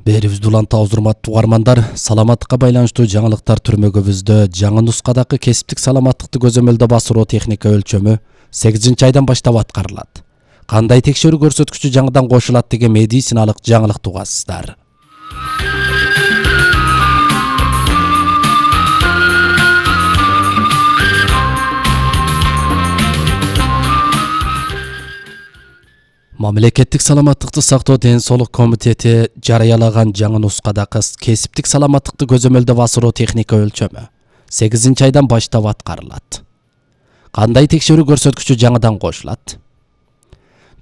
Берибизди улантабыз урматтуу угармандар. Саламаттыкка байланыштуу жаңылыктар түрмөгүбүздө жаңы нускадагы кесиптик саламаттыкты көзөмөлдөө басыруу техника өлчөмү 8-айдан баштап аткарылат. Кандай текшерүү көрсөткүчү жаңыдан кошулат деген медициналык жаңылыкты угасыздар. Мамлекеттик саламаттыкты сактоо ден соолук комитети жарыялаган жаңы нускадагы кесиптик саламаттыкты көзөмөлдөө басыруу техника өлчөмү 8-айдан баштап аткарылат. Кандай текшерүү көрсөткүчү жаңыдан кошулат?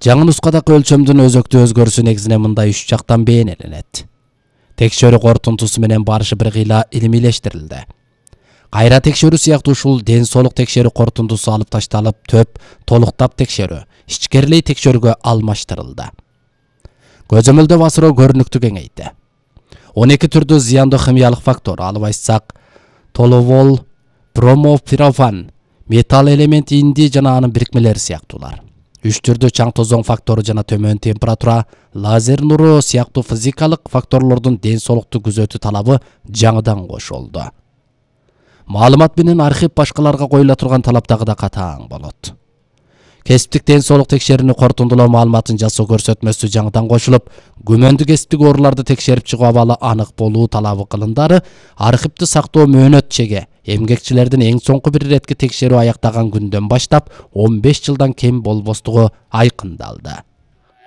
Жаңы нускадагы өлчөмдүн өзөктүү өзгөрүшү негизинен мындай 3 жактан бейнеленет. Текшерүү корутундусу менен барышы бир кыйла илимилештирилди. Кайра текшерүү сыяктуу ушул ден соолук текшерүү корутундусу алып ташталып, төп толуктап текшерүү, ичкерилей текшерүүгө алмаштырылды. Көзөмөлдөө басыруу көрүнүктү кеңейди. 12 түрдүү зыяндуу химиялык фактор, алып айтсак, толовол, бромопирофан, металл элементи инди жана анын бирикмелери сыяктуулар. 3 түрдүү чаң тозоң фактору жана төмөн температура, лазер нуру сыяктуу физикалык факторлордун ден соолукту күзөтүү талабы жаңыдан кошулду. Маалымат менен архив башкаларга коюла турган талаптагы да катаң болот. Кесиптик ден соолук текшерүүнү корутундулоо маалыматын жасоо көрсөтмөсү жаңыдан кошулуп, күмөндүү кесиптик ооруларды текшерип чыгуу абалы анык болуу талабы кылындары архивди сактоо мөөнөт чеге эмгекчилердин эң соңку бир иретки текшерүү аяктаган күндөн баштап 15 жылдан кем болбостугу айкындалды.